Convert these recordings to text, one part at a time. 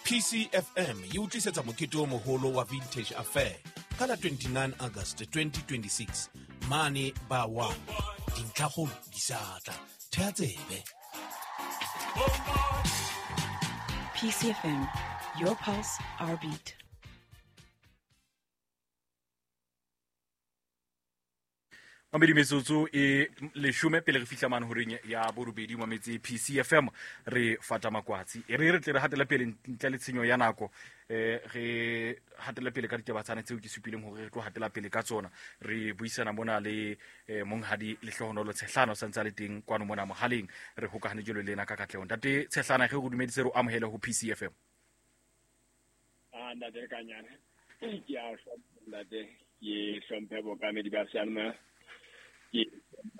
PCFM e o tlisetsa mokete o moholo wa Vintage Affair ka la 29 August 2026 mane ba 1. Dintlhakgolo di sa tla. Thea tsebe. PCFM, your pulse, our beat. Mamedi, metsotso e leshome pele re fihla mane horeng ya borobedi, mametse PCFM, re fata makwatsi. E re re tle re hatele pele ntle le tshenyo ya nako, re hatele pele ka ditaba tsane tseo ke supileng hore re tlo hatela pele ka tsona. Re buisana mona le monghadi Lehlohonolo Tshehlana, o santse a le teng kwano mona mohaleng, re hokahane jalo le ena ka katleho. Ntate Tshehlana, ge re dumedise, re o amohele ho PCFM. A ntate Kanyane, ke a hlompha ntate, ke hlomphe bookamedi ba seyalemoya, ke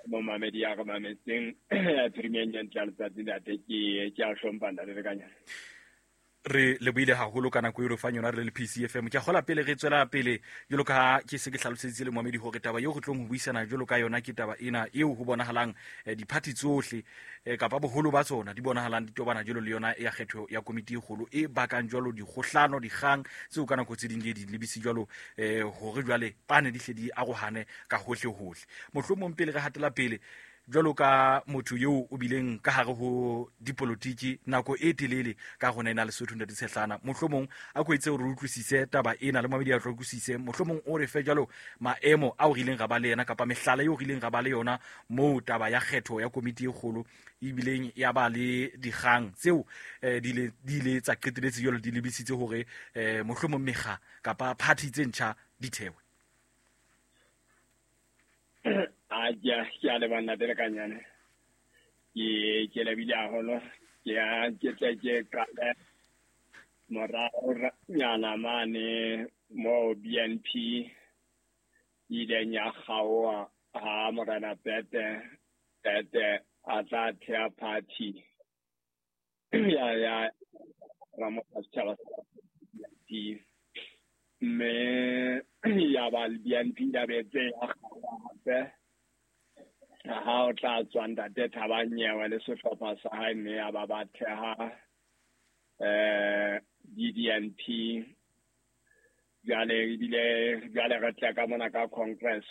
momamedi ya re mametseng ya phirimeng ya ntle ya letsatsi ntate, ke a hlompha ntate Lekanyane. Re lebohile haholo ka nako e re fang yona re le PCFM. Ke a kgola pele re tswela pele, jwalo ka ha ke se ke hlaloseditse le moamedi hore taba eo re tlong ho buisana jwalo ka yona ke taba ena eo ho bonahalang diphathi tsohle kapa boholo ba tsona di bonahalang di tobana jwalo le yona ya kgetho ya komiti e kgolo e bakang jwalo dikgohlano, dikgang tseo ka nako tse ding di di lebise jwalo hore jwale pane di hle di arohane ka hohle hohle. Mohlomong pele re hatela pele, jwalo ka motho eo o bileng ka hare ho dipolotiki nako e telele ka rona ena Lesotho, ntate Tshehlana, mohlomong a ko etse hore re utlwisise taba ena le mamedi a tlo utlwisise, mohlomong o re fe jwalo maemo ao re ileng ra ba le yena kapa mehlala eo re ileng ra ba le yona moo taba ya kgetho ya komiti e kgolo ebileng ya ba le dikgang tseo di ile tsa qeteletse jwalo di lebisitse hore mohlomong mekga kapa party tse ntjha di thewe. A ke a leboha ntate Lekanyane, ke lebile haholo. Ke a ke tle ke qale morao nyana mane mo BNP ileng ya kgaoha ha Morena Pete Pete a tla thea party ya Ramotsa setjhaba sa BNP, mme ya ba BNP ya betse ya kgaoha hape ha o tla tswa ntate Thabo Nyewe le sehlopha sa hae, mme ya ba ba theha DDNP. Jwale ebile jwale re tle ka mona ka Congress.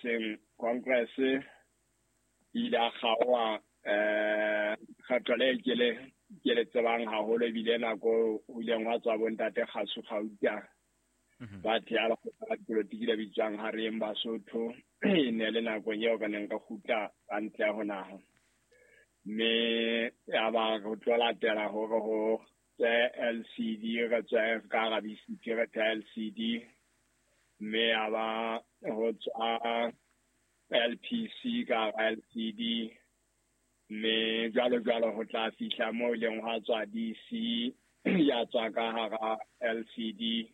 Congress e ile ya kgaoha kgetho le ke le tsebang haholo, ebile nako ho ileng hwa tswa bo ntate Kgasu Gauta ba thea lekgotla la dipolotiki le bitswang Hareng Basotho. E ne le nakong eo re neng re kgutla ka ntle ho naha, mme ya ba re tlo latela hore ho tswe LCD, re tswe ka hara BCP re thea LCD, mme ya ba ho tswa LPC ka hara LCD, mme jwalo jwalo ho tla fihla moo e leng hwa tswa DC ya tswa ka hara LCD,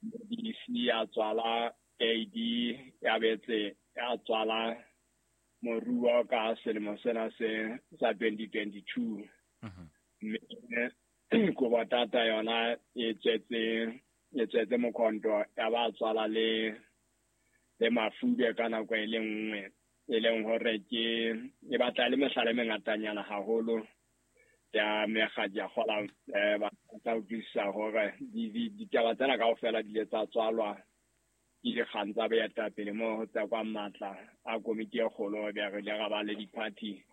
DC ya tswala AD, ya betse ya tswala moruo ka selemo sena se sa 2022. Mme Kobo Tata yona e tswetse mokhonto, ya ba tswala le mafube ka nako e le nngwe, e leng hore ke e batla le mehlala e mengatanyana haholo ya mekga. Ke a kgola ba tla utlwisisa hore ditaba tsena kaofela di ile tsa tswalwa ke dikgang tsa boetapele moo ho tsekwang matla a komiti e kgolo. Be re ile ra ba le di-party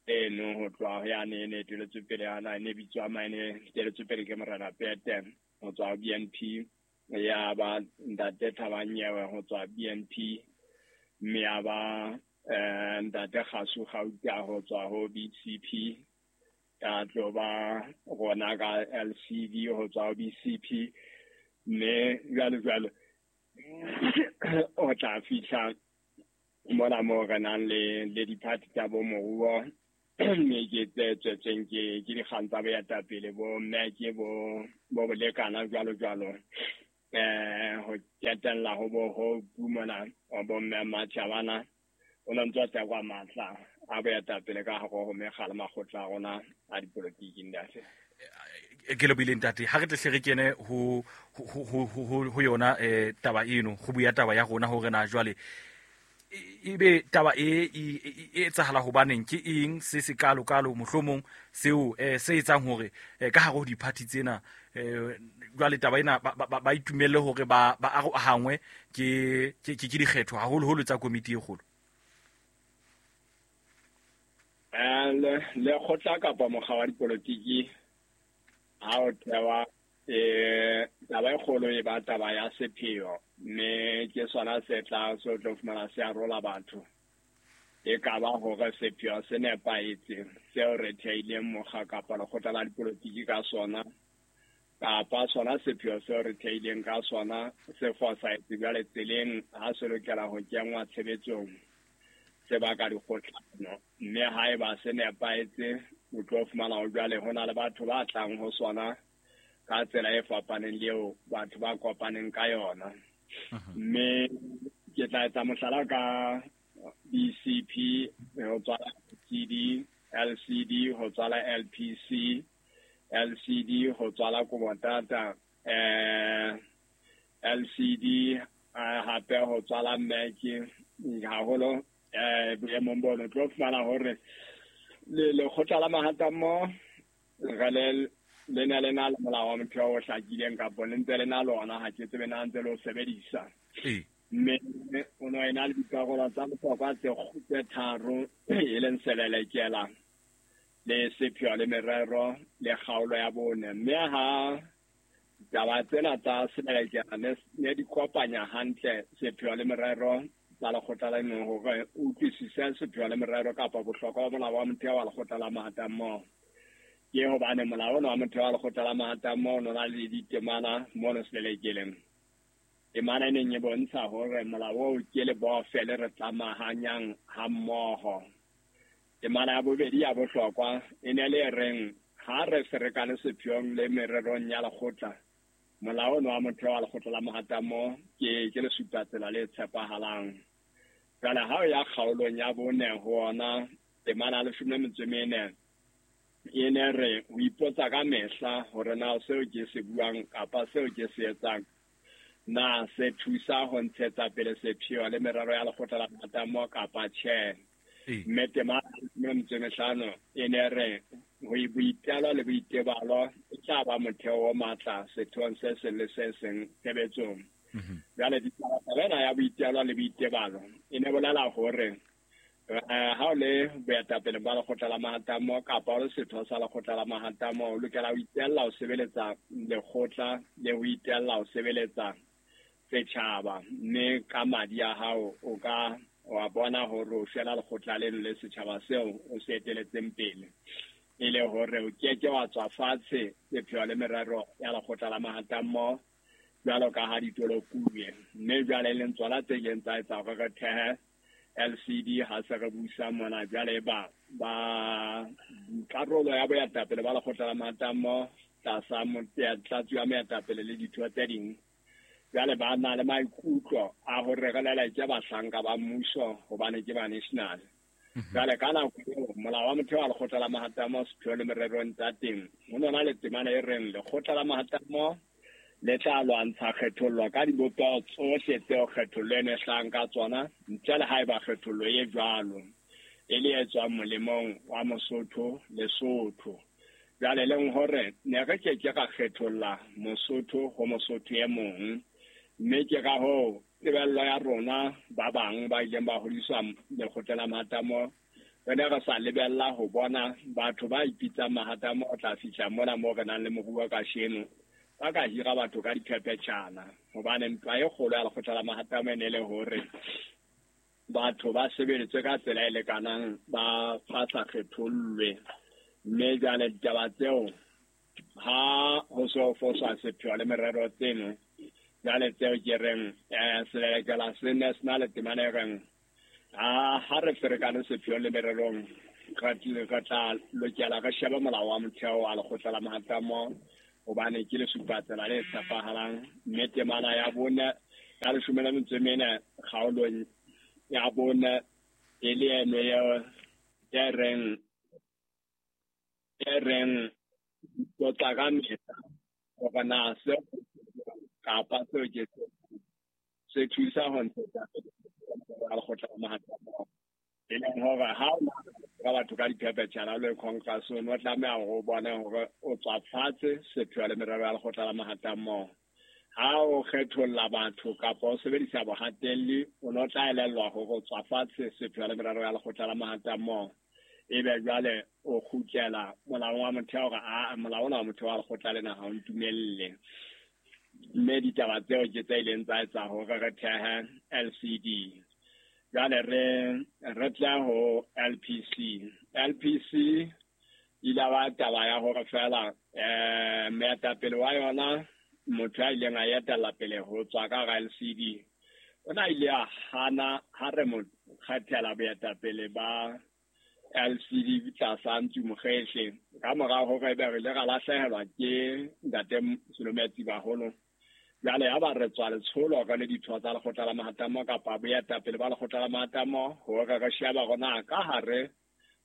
eno ho tloha ho yane e ne eteletswe pele yana e ne bitswa mane eteletswe pele ke Morena Pete ho tswa ho BNP, ya ba ntate Thabo Nyewe ho tswa BNP, mme ya ba ntate Kgasu Gauta ho tswa ho BCP, ya tlo ba rona ka LCD ho tswa ho BCP, mme jwalo jwalo o tla fihla mona moo re nang le di-party tsa bo moruo, mme ke tse tswetsweng ke dikgang tsa boetapele bo mme ke bo bolekana jwalo jwalo, ho qetella ho bo ho mona bo mme Matjhabana o no ntso tsekwa matla a boetapele ka hare ho mekga le makgotla a rona a dipolotiki ntate. Ke lebohile ntate. Ha re tle hle re kene ho yona taba eno, go bua taba ya rona hore na jwale Ebe taba e etsahala hobaneng, ke eng se se kalo kalo mohlomong seo se etsang hore ka hare ho di-party tsena jwale taba ena ba itumelle hore ba arohangwe ke dikgetho haholoholo tsa komiti e kgolo? Lekgotla kapa mokga wa dipolotiki ha o thewa, taba e kgolo e ba taba ya sepheo, mme ke sona se tla se tlo fumana se arola batho. E ka ba hore sepheo se nepahetse seo re theileng mokga kapa lekgotla la dipolotiki ka sona, kapa sona sepheo seo re theileng ka sona se fosahetse jwale tseleng ha se lokela ho kenngwa tshebetsong, se baka dikgohlano. Mme haeba se nepahetse, o tlo fumana ho jwale ho na le batho ba tlang ho sona ka tsela e fapaneng le eo batho ba kopaneng ka yona. Mme ke tla etsa mohlala ka BCP ho tswala CD, LCD ho tswala LPC, LCD ho tswala Kobotata, LCD hape ho tswala MEC. Haholo boemong bono tlo fumana hore lekgotla la mahatammo re le ne le na le molao wa motheo o hlakileng, kapa le ntse le na lona, ha ke tsebe na ntse le o sebedisa. Mme o no ena le dikarolo tsa bohlokwa tse tharo, e leng selelekela le sepheo le merero le kgaolo ya bone. Mme ha taba tsena tsa selelekela ne di kopanya hantle sepheo le merero tsa lekgotla la nngwe, hore o utlwisise sepheo le merero kapa bohlokwa ba molao wa motheo wa lekgotla la mahatammoho. Ke hobane molao ona wa motheo wa lekgotla la mahatammoho o na le ditemana mono selelekeleng. Temana e neng e bontsha hore molao oo ke lebofe le re tlamahanyang hammoho. Temana ya bobedi ya bohlokwa e ne le reng ha re ferekane sepheong le mererong ya lekgotla, molao ona wa motheo wa lekgotla la mahatammoho ke lesupatsela le tshepahalang. Jwale ha o ya kgaolong ya bone ho ona temana ya 14 e ne re ho ipotsa ka mehla hore na seo ke se buang kapa seo ke se etsang na se thusa ho ntshetsa pele sepheo le merero ya lekgotla la mahatammoho kapa tjhe. Mme temana ya 15 e ne re ho boitelo le boitebalo e tla ba motheo o matla sethong se seng le se seng tshebetsong. Jwale taba ena ya boitelo le boitebalo e ne bolela hore ha o le boetapele ba lekgotla la mahatammoho kapa o le setho sa lekgotla la mahatammoho, o lokela ho itella ho sebeletsa lekgotla le ho itella ho sebeletsa setjhaba, mme ka madi a hao o ka wa bona hore o shwela lekgotla leno le setjhaba seo o se eteletseng pele, e le hore o keke wa tswa fatshe sepheo le merero ya lekgotla la mahatammoho jwalo ka ha ditolokuwe. Mme jwale e leng tsona tse ileng tsa etsa hore re thehe LCD ha se re busa mona. Jwale ba karolo ya boetapele ba lekgotla la mahatammoho tlasa tlatsi ya moetapele le ditho tse ding, jwale ba na le maikutlo a hore re leleke bahlanka ba mmuso hobane ke ba national. Jwale ka nako eo molao wa motheo wa lekgotla la mahatammoho sepheo le mererong tsa teng ho nona le temana e reng lekgotla la mahatammoho le tla lwantsha kgethollo ka dibopeho tsohle tseo kgethollo e ne hlahang ka tsona, ntle le haeba kgethollo e jwalo e le e tswang molemong wa Mosotho Lesotho. Jwale leng hore ne re ke ke ra kgetholla Mosotho ho Mosotho e mong, mme ke ka hoo tebello ya rona ba bang ba ileng ba hodiswa lekgotla la mahatammoho, re ne re sa lebella ho bona batho ba ipitsang mahatammoho ho tla fihla mona moo re nang le moruo kasheno ba ka hira batho ka diphephetjhana, hobane ntwa e kgolo ya lekgotla la mahatammoho e ne le hore batho ba sebeletswe ka tsela e lekanang, ba sa kgethollwe. Mme jwale ditaba tseo ha ho so foswa sepheo le merero tseno, jwale tseo ke reng selelekela se ne se na le temana e reng ha re ferekane sepheo le mererong, re tla lokela re shebe molao wa motheo wa lekgotla la mahatammoho hobane ke lesupatsela le tshepahalang. Mme temana ya bone ya 14 kgaolong ya bone e le eno e reng tlotla ka mehla hore na seo kapa seo ke se thusa ho ntshetsa pele merero ya lekgotla la mahatammoho. E leng hore ha o ka batho ka diphephetjhana le congress o no tlameha hore o bone hore o tswa fatshe sepheo le merero ya lekgotla la mahatammoho. Ha o kgetholla batho kapa o sebedisa bohatelli, o no tla elellwa hore o tswa fatshe sepheo le merero ya lekgotla la mahatammoho. Ebe jwale o kgutlela molaong wa motheo hore a molao ona wa motheo wa lekgotla lena ha o ntumelle. Mme ditaba tseo ke tse ileng tsa etsa hore re thehe LCD. Jwale re tle ho LPC. LPC ile ba taba ya hore fela moetapele wa yona, motho ya ileng a etella pele ho tswa ka hara LCD, o na ile a hana ha re mo kgethela boetapele ba LCD tlasa Ntsu Mokgehle. Ka mora hore ebe re ile ra lahlehelwa ke ntate Selometsi Baholo. Jwale ha ba re tswa letsholo re le ditho tsa lekgotla la mahatammoho kapa boetapele ba lekgotla la mahatammoho hore re shebe hore na ka hare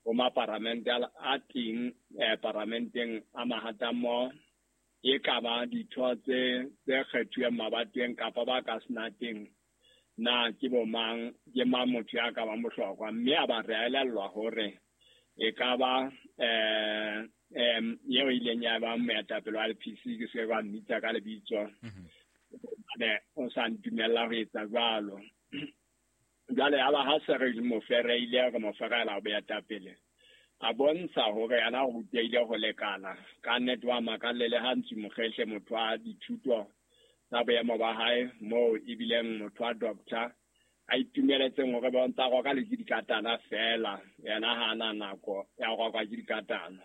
ho maparamente a teng paramenteng a mahatammoho e ka ba ditho tse kgethuweng mabatoweng kapa ba ka senateng, na ke bo mang, ke mang motho ya ka bang bohlokwa. Mme a ba re elellwa hore e ka ba eo ileng ya ba moetapele wa LPC, ke se ka mmitsa ka lebitso, hobane o sa ntumella ho etsa jwalo. Jwale ya ba ha se re mo fereile, re mo ferela ho boetapele, a bontsha hore yena o rutehile ho lekana. Ka nnete wa makalle le ha Ntsu Mokgehle, motho wa dithuto tsa boemo ba hae moo ebileng motho wa doctor, a itumeletseng hore ba ntsa roka le ke dikatana fela, yena ha ana nako ya ho roka ke dikatana.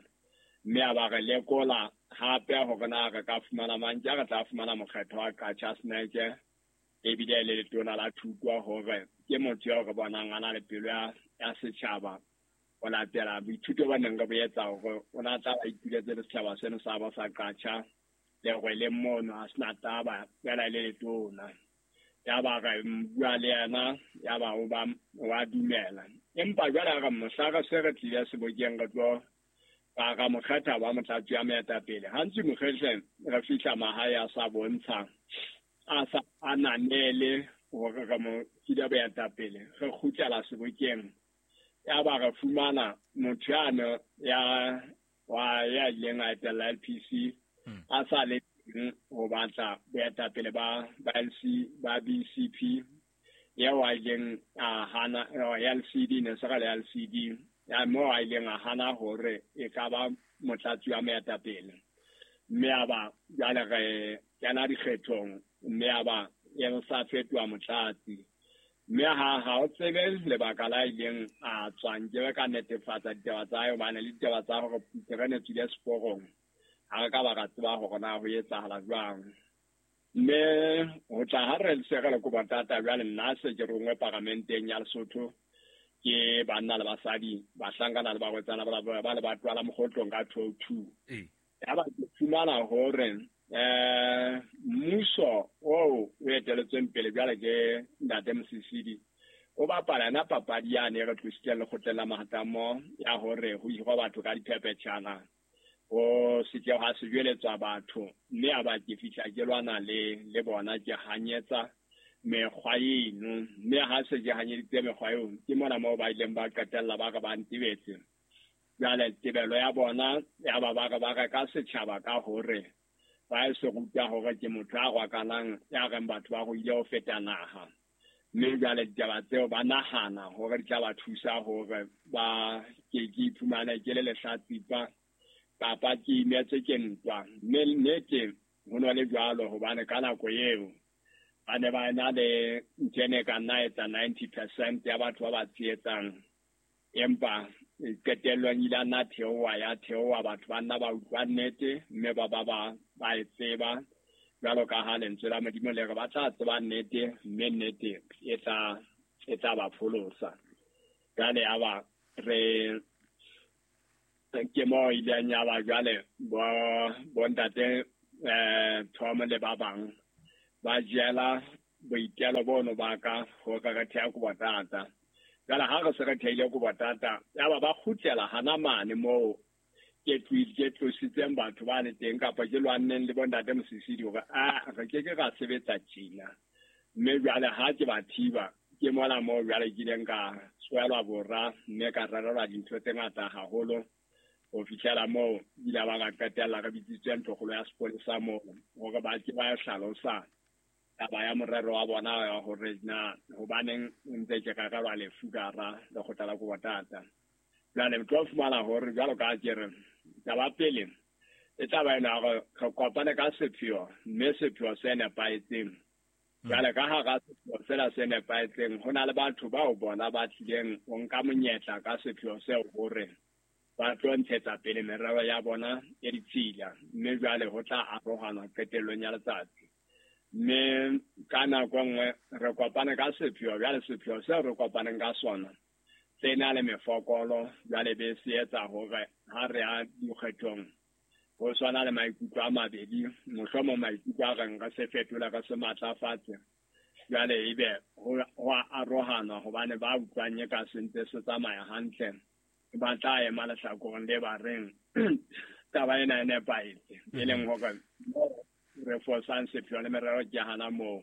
Mme a ba re lekola hape hore na re ka fumana mang, ke re tla fumana mokgetho wa Qacha's Nek, ebile le letona la thuto, hore ke motho eo re bonang a na le pelo ya setjhaba ho latela boithuto ba neng re bo etsa hore o na tla ba ituletse le setjhaba seno sa ba sa Qacha le hore le mono a sena taba fela le letona. Ya ba re bua le yena, ya ba o ba wa dumela. Empa jwale re mohla re se re tlile sebokeng re tlo ra mo kgetha ba motlatsi wa moetapele. Ha Ntsu Mokgehle re fihla mahae a sa bontsha, a sa ananele hore re mo file boetapele, re kgutlela sebokeng. Ya ba re fumana motho yane ya wa ya ileng a etella LPC a sa le teng ho batla boetapele ba LC ba BCP, eo a ileng a hana LCD, ne se re le LCD, ya moo a ileng a hana hore e ka ba motlatsi wa moetapele. Mme a ba jwale re kena dikgethong, mme a ba e sa fetoha motlatsi. Mme ha o tsebe lebaka la ileng a tswa, nkebe ka netefatsa ditaba tsa hae, hobane le ditaba tsa hore terene tswile seporong, ha re ka ba ra tseba hore na ho etsahala jwang. Mme ho tla ha re se re le Kobo-Tata, jwale nna se ke rongwe paramenteng ya Lesotho ke banna le basadi, bahlankana le barwetsana ba le batho ba la Mokgotlong ka 2002. Ya ba ke fumana hore mmuso oo o eteletsweng pele jwale ke ntate Mosisili o bapala yona papadi yane e re tlositseng lekgotleng la mahatammoho ya hore ho hirwa batho ka diphephetjhana, ho se ke ha se jweletswa batho. Mme a ba ke fihla ke lwana le bona, ke hanyetsa mekgwa eno. Mme ha se ke hanyeditse mekgwa eo, ke mona moo ba ileng ba qetella ba re ba ntebetse. Jwale tebelo ya bona ya ba ba re ba reka setjhaba ka hore ba e se ruta hore ke motho a rwakanang ya reng batho ba ruile ho feta naha. Mme jwale ditaba tseo ba nahana hore di tla ba thusa hore ba ke iphumane ke le lehlatsipa kapa ke imetswe ke ntwa. Mme nnete ho no le jwalo, hobane ka nako eo ba ne ba na le ntho e ne ka nna etsa 90% ya batho ba ba tshehetsang, empa qetellong ile a nna theoha, ya theoha, batho ba nna ba utlwa nnete, mme ba ba e tseba jwalo ka ha lentswe la Modimo le re ba tla tseba nnete, mme nnete e tla ba pholosa. Jwale ya ba re ke mo ileng ya ba jwale bo ntate Tom le ba bang ba jela boitelo bono ba ka hore re theha Kobo-Tata. Jwale ha re se re thehile Kobo-Tata, ya ba ba kgutlela hana mane moo ke tlositseng batho ba le teng, kapa ke lwanneng le bontate Mosisili hore a re ke ke ra sebetsa tjena. Mme jwale ha ke ba thiba, Ke mola moo jwale ke ileng ka tswelwa bora mme ka rerelwa dintho tse ngata haholo ho fihlela moo ile ba ka qetella re bitsitswe ntlokgolo ya sepolesa moo hore ba ke ba hlalosa taba ya morero wa bona wa hore na hobaneng ntse ke rerelwa lefu ka hara lekgotla la Kobo-Tata. Jwale tlo fumana hore jwalo ka ke re taba pele e tla ba ena hore re kopane ka sepheo, mme sepheo se nepahetseng. Jwale ka hara sepheo sena se nepahetseng ho na le batho bao bona ba tlileng ho nka monyetla ka sepheo seo hore ba tlo ntshetsa pele merero ya bona e ditshila, mme jwale ho tla arohanwa qetellong ya letsatsi. Mme ka nako nngwe re kopane ka sepheo, jwale sepheo seo re kopaneng ka sona se na le mefokolo, jwale be se etsa hore ha re ya dikgethong ho swana le maikutlo a mabedi, mohlomong maikutlo a reng re se fetola re se matlafatse, jwale ebe ho a arohanwa hobane ba utlwang e ka se ntse se tsamaya hantle ba tla ema lehlakoreng le ba reng taba ena e nepahetse, e leng hore re fosang sepheo le merero ke hana moo.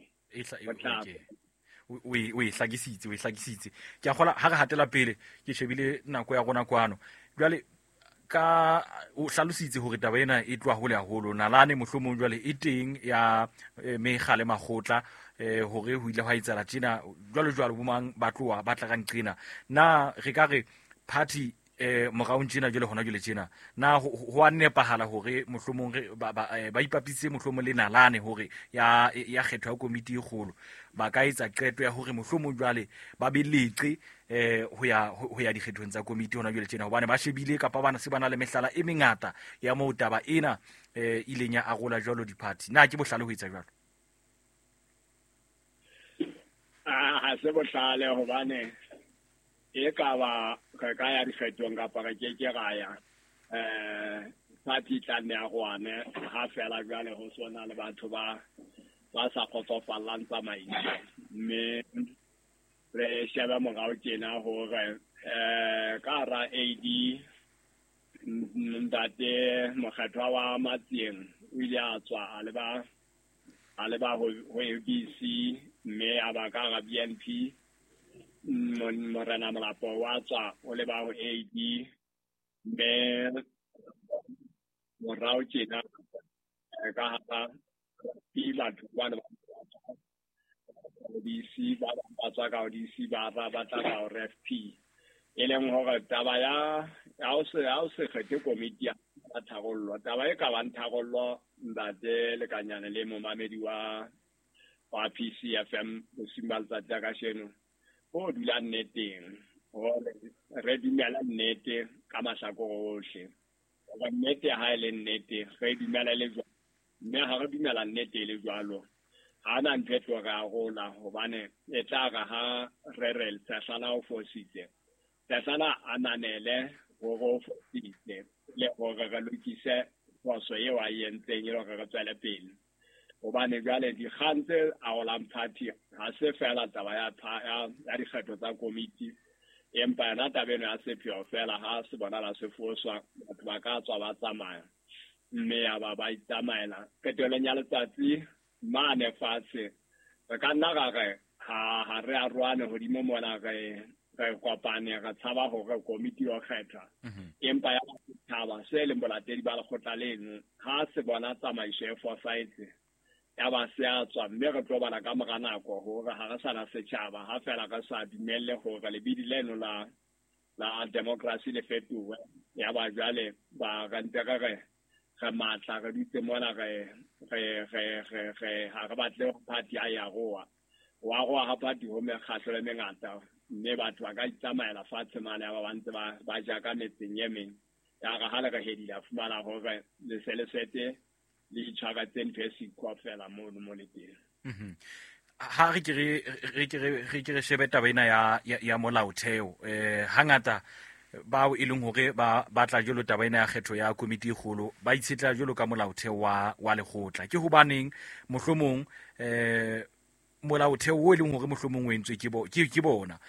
O e hlakisitse. Ke a kgola ha re hatela pele, ke shebile nako ya rona kwano. Jwale ka o hlalositse hore taba ena e tloha hole haholo, nalane mohlomong jwale e teng ya mekga le makgotla hore ho ile hwa etsahala tjena jwalo jwalo, bo mang ba tloha ba tla ka nqena. Na re ka re party moraong tjena jwale hona jwale tjena, na ho a nepahala hore mohlomong re ba ipapisitse mohlomong le nalane hore ya kgetho ya komiti e kgolo ba ka etsa qeto ya hore mohlomong jwale ba be leqe ho ya dikgethong tsa komiti hona jwale tjena, hobane ba shebile kapa bana se bana le mehlala e mengata ya moo taba ena ileng ya arola jwalo di-party. Na ke bohlale ho etsa jwalo? Ha se bohlale hobane e ka ba re ka ya dikgethong kapa re ke ke ra ya, party tla nne ya rwane ha fela jwale ho sona le batho ba sa kgotsofallang tsamaiso. Mme re shebe morao tjena hore ka hara AD ntate Mokgethwa wa Matsieng o ile a tswa a leba ho ABC, mme a ba ka hara BNP. Morena Molapo wa tswa o leba ho AD, mme morao tjena ka hara batho bana ba DC ba tswa ka DC ba ba tla ka RFP, e leng hore taba ya ha o se kgethe komiti ya tharollo, taba e ka bang tharollo ntate Lekanyane le momamedi wa PCFM bosiung ba letsatsi la kasheno, ho dula nneteng hore re dumela nnete ka mahlakore ohle, hore nnete ha e le nnete re dumela le jwalo, mme ha re dumela nnete e le jwalo ha na ntho e tlo re arola, hobane e tla re ha re re Tshehlana o fositse, Tshehlana a nanele hore o fositse le hore re lokise phoso eo a e entseng e le hore re tswele pele. Hobane jwale dikgang tse arolang party ha se fela taba ya dikgetho tsa komiti, empa yona taba eno ya sepheo fela ha se bonala se foswa, batho ba ka tswa ba tsamaya mme ya ba ba itsamaela. Qetellong ya letsatsi mane fatshe re ka nna ra re ha re arohane hodimo mona, re kopane re tshaba hore komiti yo kgethwa, empa ya setjhaba se leng bolatedi ba lekgotla leno ha se bona tsamaiso e fosahetse ya ba se a tswa, mme re tlo bala ka mora nako hore ha re sana setjhaba ha fela re sa dumelle hore lebidi leno la democracy le fetohe. Ya ba jwale ba re ntse re re matla re dutse mona re ha re batle party ya ya roa wa roa ha party ho mekgahlo e mengata, mme batho ba ka itsamaela fatshe mane ya ba ntse ba ja ka metseng e meng, ya re ha le re hedile a fumana hore le se le sete le itshwaretse ntho e siko fela mono mo le teng. Ha re ke re shebe taba ena ya molaotheo, hangata bao e leng hore ba batla jwalo taba ena ya kgetho ya komiti e kgolo ba itshetla jwalo ka molaotheo wa lekgotla. Ke hobaneng mohlomong molaotheo o e leng hore mohlomong o entswe ke bona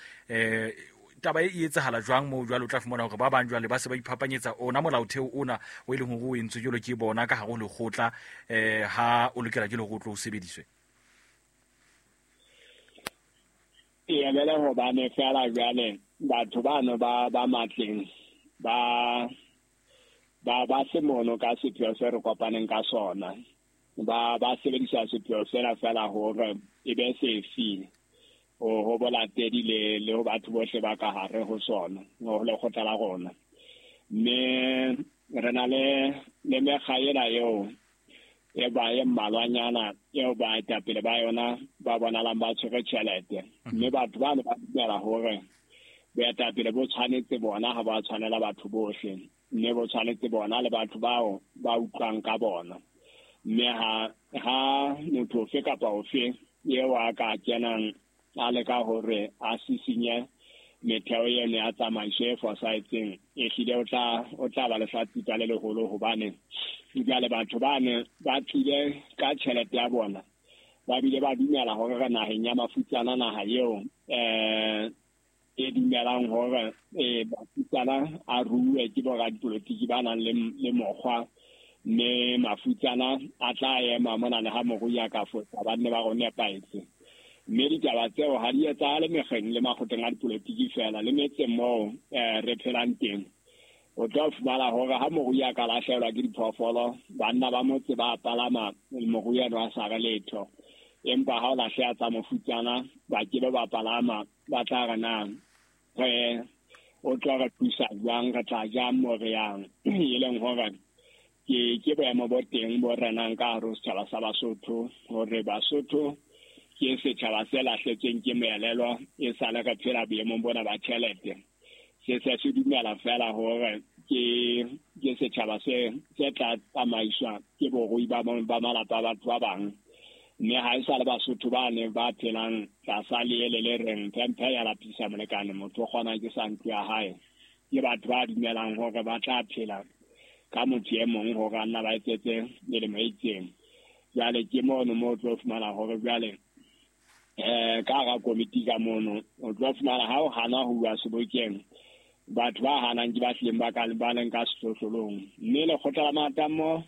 taba e etsahala jwang moo jwale o tla fumana hore ba bang jwale ba se ba iphapanyetsa ona molaotheo ona o e leng hore o entswe jwalo ke bona ka hare ho lekgotla, ha o lokela ke le hore o tlo o sebediswe? E Ebele hobane fela jwale batho bano ba matleng ba se mono ka sepheo se re kopaneng ka sona. Ba sebedisa sepheo sena fela hore e be sefi ho bolatedi le ho batho bohle ba ka hare ho sona, ho lekgotla la rona. Mme re na le mekga ena eo e ba e mmalwanyana eo baetapele ba yona ba bonalang ba tshwere tjhelete. Mme batho bano ba dumela hore boetapele bo tshwanetse bona ha ba tshwanela batho bohle, mme bo tshwanetse bona le batho bao ba utlwang ka bona. Mme ha motho ofe kapa ofe eo a ka kenang a leka hore a sisinye metheo eno ya tsamaiso e fosahetseng, ehlile o tla ba lehlatsipa le leholo, hobane jwale batho bane ba tlile ka tjhelete ya bona, ba bile ba dumela hore re naheng ya mafutsana, naha eo e dumelang hore mafutsana a ruwe ke boradipolotiki ba nang le mokgwa, mme mafutsana a tla ema mona le ha morui a ka fosa, ba nne ba re o nepahetse. Mme ditaba tseo ha di etsahale mekgeng le makgotleng a dipolotiki fela, le metseng moo re phelang teng. O tla fumana hore ha morui a ka lahlehelwa ke diphoofolo, banna ba motse ba palama morui eno a sa re letho. Empa ha o lahleha tsa mofutsana, ba ke be ba palama, ba tla re na re o tlo re thusa jwang, re tla jang mo re yang. E leng hore ke boemo bo teng bo renang ka hare ho setjhaba sa Basotho, hore Basotho ke setjhaba se lahletsweng ke moelelo e sale re phela boemong bona ba tjhelete. Se se dumela fela hore ke setjhaba se tla tsamaiswa ke borui ba malapa a batho ba bang. Mme ha e sa le Basotho ba ne ba phelang tlasa leele le reng phemphe ya lapisa molekane, motho o kgona ke sa ntlo ya hae. Ke batho ba dumelang hore ba tla phela ka motho e mong hore a nna ba etsetse melemo e itseng. Jwale ke mono moo o tlo fumana hore jwale ka hara komiti ka mono o tlo fumana ha o hana ho bua sebokeng, batho ba hanang ke ba hlileng ba leng ka sehlohlolong. Mme lekgotla la Mahatammoho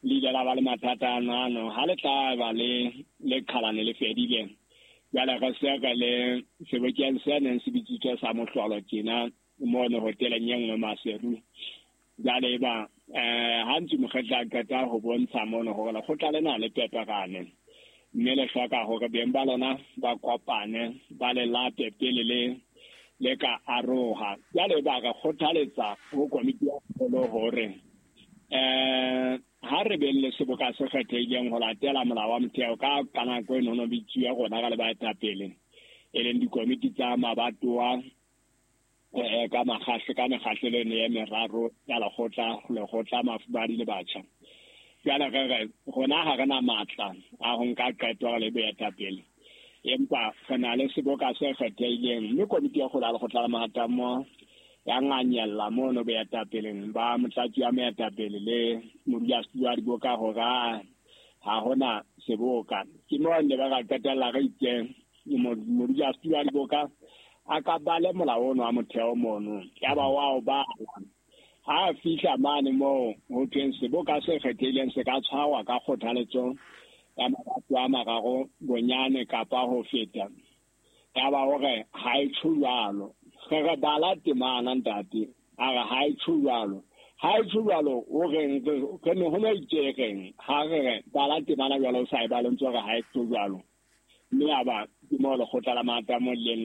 le ile la ba le mathata ano ha le tla ba le qhalane le fedile. Jwale re se re le sebokeng se neng se bitsitswe sa mohlolo tjena mono hoteleng e nngwe Maseru. Jwale eba ha ntse mokgetla a qeta ho bontsha mono hore lekgotla lena le peperane, mme le hloka hore beng ba lona ba kopane ba le lape pele le ka aroha. Jwale ba re kgothaletsa ho komiti ya kgolo hore ha re beng le seboka se kgethehileng ho latela molao wa motheo ka nako e nono bitsuwe rona ka le baetapele, e leng dikomiti tsa mabatowa ka mekgahlelo eno e meraro ya lekgotla mafubadi le batjha. Jwale re re rona ha re na matla a ho nka qeto le boetapele, empa re na le seboka se kgethehileng, mme komiti ya kgolo ya lekgotla la Mahatammoho ya nganyella mono boetapeleng ba motlatsi wa moetapele le modulasetulo wa diboka hore ha hona seboka. Ke moo ne ba ka qetella re itse modulasetulo wa diboka a ka bale molao ono wa motheo mono, ya ba wa o bala. Ha fihla mane moo ho thweng seboka se kgethehileng se ka tshwarwa ka kgothaletso ya mabato a mararo bonyane kapa ho feta, ya ba hore ha e tjho jwalo. Re bala temana ntate, a re ha e tjho jwalo. Ha e tjho jwalo, o reng re ne ho no itse ha re bala temana jwalo o sa e bale ntse re ha e tjho jwalo. Mme ya ba ke moo lekgotla la Mahatammoho le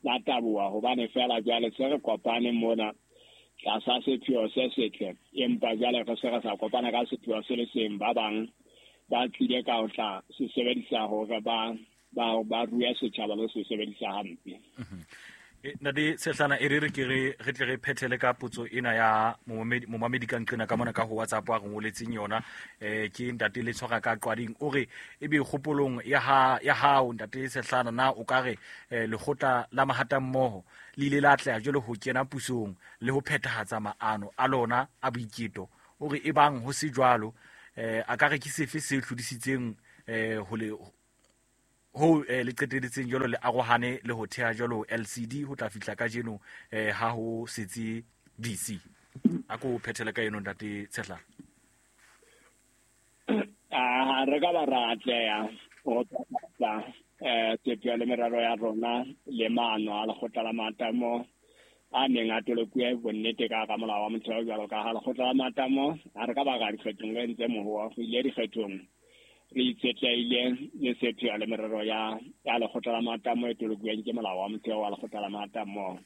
la taboha, hobane fela jwale se re kopane mona tlasa sepheo se setle, empa jwale re se re sa kopana ka sepheo se le seng. Ba bang ba tlile ka ho tla se sebedisa hore ba rue setjhaba le se sebedisa hampe. Ntate Tshehlana, e re ke re tle re phethele ka potso ena ya momamedi ka nqena ka mona ka ho WhatsApp a re ngoletseng yona. Ke ntate le tshwara ka qwading, o re ebe kgopolong ya hao ntate Tshehlana, na o ka re lekgotla la Mahatammoho le ile la atleha jwalo ho kena pusong le ho phethahatsa maano a lona a boiketo? O re ebang ho se jwalo, a ka re ke sefe se hlodisitseng ho le ho le qeteletseng jwalo le arohane le ho theha jwalo LCD ho tla fihla kajeno ha ho setse DC? A ko phethele ka eno ntate Tshehlana. Re ka ba ra atleha ho phethahatsa sepheo le merero ya rona le maano a lekgotla la Matamo a neng a tolokuwe bonnete ka hara molao wa motheo jwalo ka ha lekgotla la Matamo ha re ka ba ra dikgethong re ntse mohoa go ile dikgethong re itshetlehile le sepheo le merero ya lekgotla la Matamo e tolokuweng ke molao wa motheo wa lekgotla la Matamo.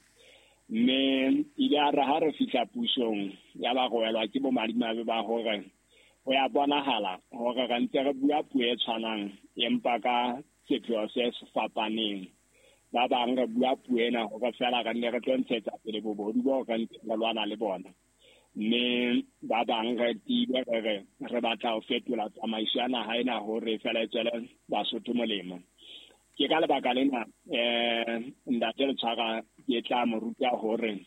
Mme ile a re ha re fihla pusong ya ba go welwa ke bomadimabe ba hore ho ya bonahala hore re ntse re bua puo e tshwanang empa ka sepheo se se fapaneng. Ba bang re bua puo ena hore fela re nne re tlo ntshetsa pele bobodu bo re ntseng re lwana le bona, mme ba bang re tiile re re re batla ho fetola tsamaiso ya naha ena hore fela e tswele Basotho molemo. Ke ka lebaka lena ntate Letshwara ke tla mo ruta hore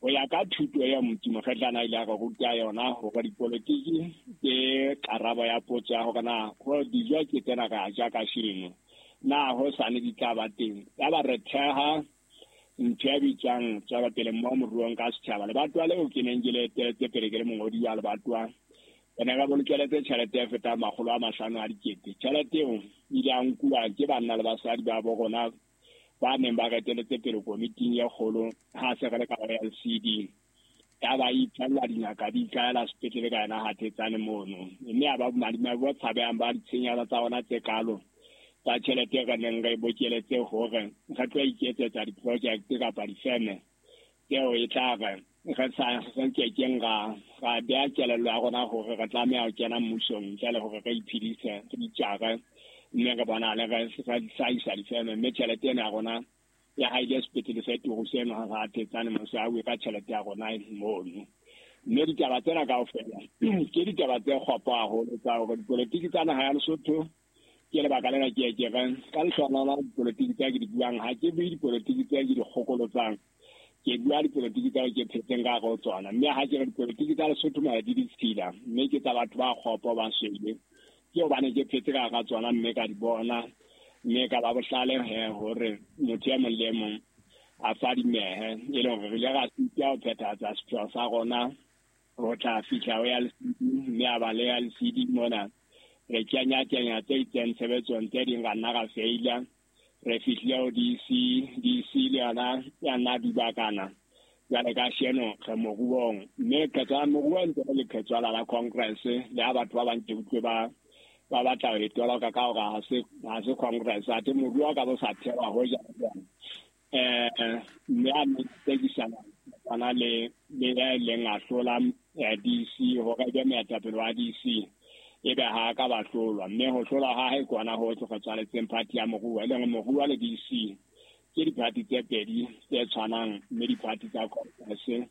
ho ya ka thuto ya Motsi Mokgetlana ile a re ruta yona hore dipolotiki ke karabo ya potso ya hore na ho dijo ke tsena re a ja kasheno, na ho sane di tla ba teng. Ya ba re theha ntho e bitswang tswelopele mo moruong ka setjhaba. Lebatowa leo ke neng ke le eteletse pele ke le mongodi wa lebatowa, re ne re bolokeletse tjhelete e fetang 500 a dikete. Tjhelete eo ile ya nkuwa ke banna le basadi ba bo rona ba neng ba reteletse pele komiting e kgolo ha se re le ka LCD. Ya ba ipfella dingaka di ikaela sepetlele ka yona ha thetsane mono, mme ya ba bomadimabe bo tshabehang ba ditshenyehelo tsa rona tse kalo tsa tjhelete re neng re bokeletse hore re tlo iketsetsa di-project kapa difeme tseo e tla re re sa re kekeng ra beha kelello ya rona hore re tlameha ho kena mmusong ntle le hore re iphedise re itjare, mme re bonahale re hlahisa difeme, mme tjhelete ena ya rona ya ha ile sepetlele se turu seno ha re thetsane mose a bue ka tjhelete ya rona mono. Mme ditaba tsena kaofela ke ditaba tse kgopo haholo tsa hore dipolotiki tsa naha ya Lesotho. Ke lebaka lena ke ke re ka lehlohonolo dipolotiki tse ke di buang ha ke bue dipolotiki tse ke di kgokolotsang, ke bua dipolotiki tsa ke phetseng ka hare ho tsona. Mme ha ke re dipolotiki tsa Lesotho mona di ditshila, mme ke tsa batho ba kgopo ba swele, ke hobane ke phetse ka hara tsona mme ka di bona, mme ka ba bohlale he hore motho e mong le e mong a fadimehe, e leng hore re ile ra sitwa ho phethahatsa sepheo sa rona ho tla fihla ho ya LCD, mme a ba le ya LCD mona re kenya-kenya tse itseng tshebetsong, tse ding ra nna ra feila. Re fihlile ho DC, DC le yona ya nna dubakana. Jwale kasheno re moruong, mme lekgetho la moruo ntse le lekgetho la Congress le ha batho ba bang ke utlwe ba batla ho e toloka ka hore ha se Congress, athe moruo ka bo sa thewa ho ja jwang. Mme a nne tsekisana tsana le ya ileng a hlola DC hore e be moetapele wa DC, ebe ha ka ba hlolwa. Mme ho hlolwa ha hae kwana ho tloga tswaletseng party ya moruo, e leng moruo le DC ke diphathi tse pedi tse tshwanang, mme diphathi tsa Congress.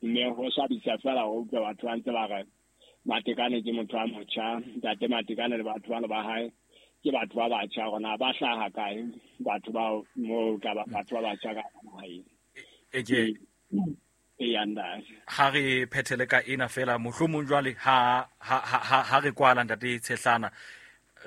Mme ho swabisa fela ho utlwa batho ba ntse ba re Matekane ke motho a motjha, ntate Matekane le batho bana ba hae ke batho ba batjha, rona ba hlaha kae batho bao moo ka batho ba batjha ka naheng. Ha re phethele ka ena fela mohlomong jwale ha re kwala ntate Tshehlana,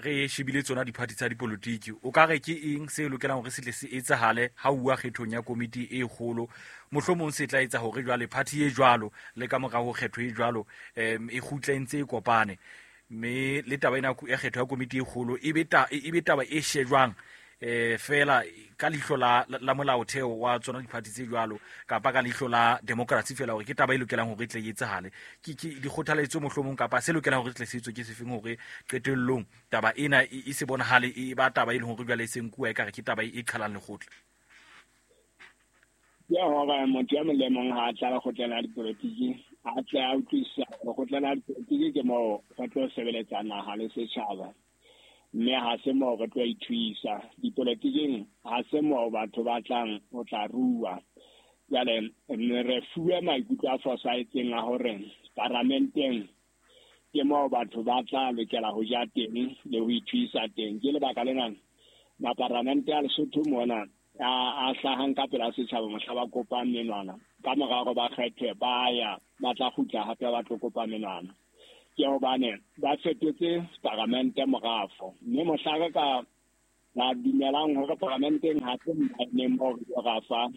re shebile tsona diphathi tsa dipolotiki, o ka re ke eng se lokelang hore se tle se etsahale ha uwa kgethong ya komiti e kgolo? Mohlomong se tla etsa hore jwale phathi e jwalo le ka mora ho kgetho e jwalo e kgutle ntse e kopane, mme le taba ena ya kgetho ya komiti e kgolo e be taba e shejwang fela ka leihlo la molaotheo wa tsona diphathi tse jwalo, kapa ka leihlo la democracy fela, hore ke taba e lokelang hore e tle e etsahale. Ke dikgothaletso mohlomong kapa se lokelang hore e tle se etswe ke sefeng hore qetellong taba ena e se bonahale e ba taba e leng hore jwale e se nkuwa ekare ke taba e qhalang lekgotla? Ke hore motho e mong le mong ha a tla lekgotleng la dipolotiki a tle a utlwisisa lekgotleng la dipolotiki ke moo re tlo sebeletsa naha le setjhaba, mme ha se moo re tlo ithuisa dipolotiking, ha se moo batho ba tlang ho tla rua. Jwale re fuwe maikutlo a fosahetseng a hore paramenteng ke moo batho ba tla lokela ho ja teng le ho ithuisa teng. Ke lebaka lena maparamente a Lesotho mona a hlahang ka pela setjhaba mohla ba kopang menwana, ka mora hore ba kgethwe ba ya ba tla kgutla hape ba tlo kopa menwana. Ke hobane ba fetotse paramente morafo, mme mohla re ka ba dumelang hore paramenteng ha se mmaeneng moo re tlo rafa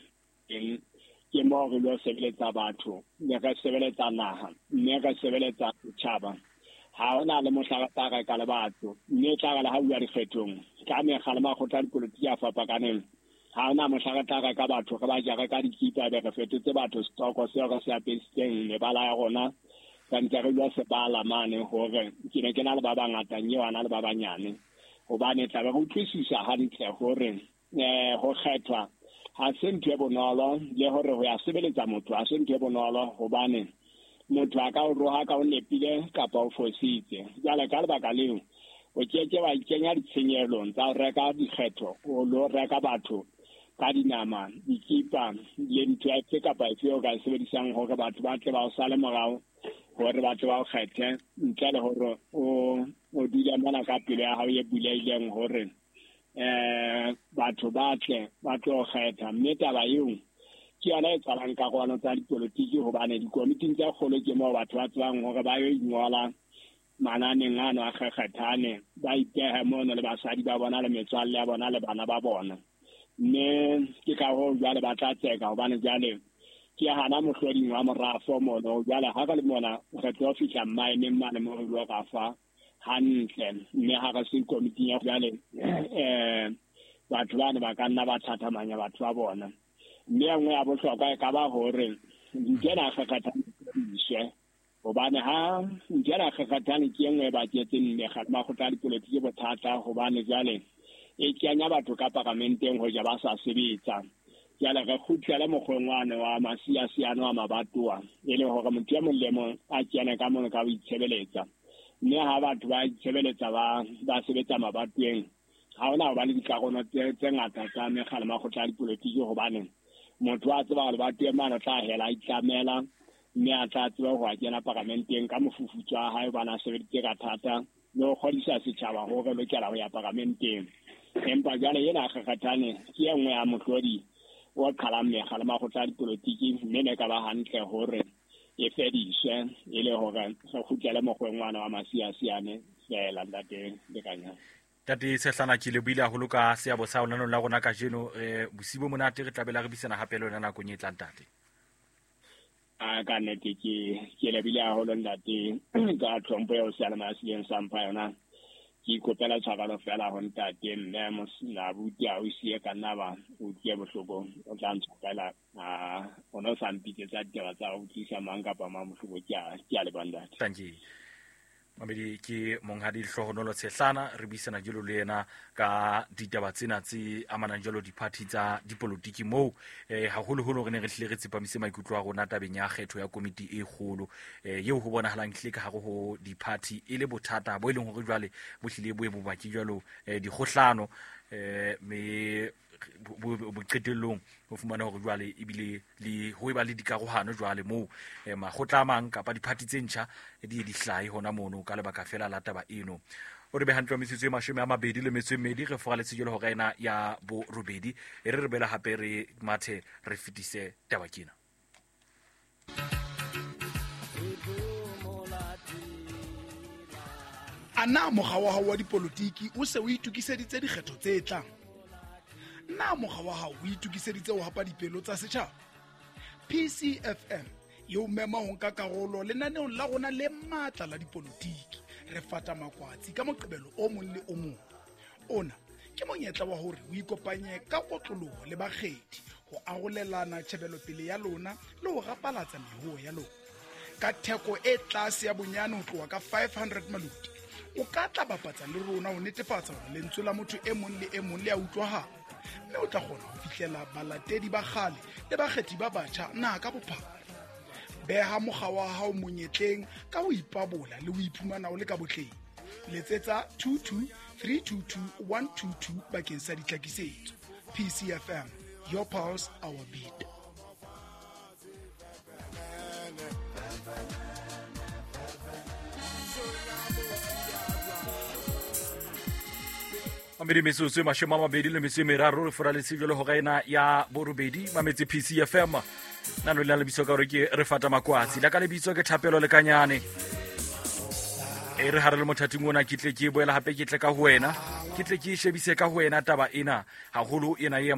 teng, ke moo re lo sebeletsa batho, mme re sebeletsa naha, mme re sebeletsa setjhaba. Ha hona le mohla re tla reka le batho, mme e tla re le ha bua dikgethong ka mekga le makgotla a dipolotiki a fapakaneng, ha hona mohla re tla reka batho re ba jare ka dikipa, be re fetotse batho setoko seo re se apesitseng mebala ya rona, ka ntse re lo sebala mane hore ke ne ke na le ba bangata eo a na le ba banyane, hobane tla be re utlwisisa hantle hore ho kgethwa ha se ntho e bonolo, le hore ho ya sebeletsa motho ha se ntho e bonolo, hobane motho a ka o roha ka o nepile kapa o fositse. Jwale ka lebaka leo o keke wa ikenya ditshenyehelo tsa ho reka dikgetho, o lo reka batho ka dinama, dikipa le ntho efe kapa efe o ka e sebedisang hore batho ba tle ba o sale morao, hore ba tle ba o kgethe, ntle le hore o dule mona ka pelo ya hao e bulehileng hore batho ba tle ba tlo kgetha. Mme taba eo ke yona e tswalang karolo tsa dipolotiki, hobane dikomiting tse kgolo ke moo batho ba tsebang hore ba yo ingola mananeng ano a kgekgethane, ba ipehe mono le basadi ba bona le metswalle ya bona le bana ba bona. Mme ke ka hoo jwale ba tla tseka, hobane jwale ke hana mohloding wa morafo mono. Jwale ha re le mona re tlo fihla mmaeneng mane mo re lo rafa hantle, mme ha re se komiting ya jwale batho bane ba ka nna ba thathamanya batho ba bona. Mme e nngwe ya bohlokwa e ka ba hore ntho ena kgekgethane iswe, hobane ha ntho ena kgekgethane ke e nngwe e baketseng mekgatlo makgotla a dipolotiki bothata, hobane jwale e kenya batho ka paramenteng ho ja ba sa sebetsa. Jwale re kgutlele mokgweng wane wa masiasiane wa mabatowa, e le hore motho e mong le mong a kene ka mono ka ho itshebeletsa. Mme ha batho ba itshebeletsa ba sebetsa mabatoweng, ha hona ho ba le dikarolo tse ngata tsa mekga le makgotla a dipolotiki, hobane motho a tseba hore lebatoweng mane o tla hela a itlamela, mme a tla tseba ho a kena paramenteng ka mofufutso wa hae, hobane a sebeditse ka thata le ho kgodisa setjhaba hore lokela ho ya paramenteng. Empa jwale ena kgekgethane ke e nngwe ya mohlodi o qhalang mekga le makgotla a dipolotiki, mme ne ka ba hantle hore e fediswe, e le hore re kgutlele mokgweng wane wa masiasiane feela. Ntate Lekanyane. Ntate Tshehlana, ke lebohile haholo ka seabo sa lenaneo la rona kajeno. Bosiu bo monate, re tla bela re buisana hape le wena nakong e tlang, ntate. A ka nnete ke lebile haholo ntate ka tlhompho eo seyalemoya se ileng sa mpha yona. Ke ikopela tshwarelo fela ho ntate mme abuti a o siye ka nna ba utlwe bohloko, o tla ntshwarela, o no sa mpitsetsa ditaba tsa ho utlwisa mang kapa mang bohloko. Ke a leboha ntate. Thank you. Mamedi ke monghadi Lehlohonolo Tshehlana, re buisana jalo le yena ka ditaba tsena tse amanang jalo diphathi tsa dipolotiki moo haholoholo re ne re hlile re tsepamise maikutlo a rona tabeng ya kgetho ya komiti e kgolo eo ho bonahalang hlile ka hare ho diphathi e le bothata bo e leng hore jwale bo hlile bo e bobaki jwalo dikgohlano, mme boqetellong ho fumana hore jwale ebile le ho eba le dikarohano jwale moo makgotla a mang kapa diphathi tse ntjha di ye di hlahe hona mono ka lebaka fela la taba eno. O re be hantle metsotso e 22 re foraletse jwale hora ena ya borobedi, e re re bela hape re mathe re fetise taba kena. A na mokga wa hao wa dipolotiki o se o itokiseditse dikgetho tse tlang? Na mokga wa hao o itokiseditse ho hapa dipelo tsa setjhaba? PCFM e o mema ho nka karolo lenaneong la rona le matla la dipolotiki. Re fata makwatsi ka Moqebelo o mong le o mong. Ona ke monyetla wa hore o ikopanye ka kotloloho le bakgethi ho arolelana tjhebelopele ya lona le ho rapalatsa mehoo ya lona. Ka theko e tlase ya bonyane ho tloha ka 500 maluti, o ka tla bapatsa le rona ho netefatsa hore lentswe la motho e mong le e mong le a utlwahala, mme o tla kgona ho fihlela balatedi ba kgale le bakgethi ba batjha naha ka bophara. Beha mokga wa hao monyetleng ka ho ipabola le ho iphumana o le ka botleng. Letsetsa 22 322 122 bakeng sa ditlhakisetso. PCFM, your pulse, our beat. Mamedi metsotso e 23 re foraletse jwale hora ena ya borobedi mametse PCFM. Nano le lebitso ka hore ke re fata makwatsi la ka lebitso ke Thapelo Lekanyane. E re hare le mothating ona ke tle ke boela hape ke tle ka ho wena, ke tle ke shebise ka ho wena taba ena haholo ena e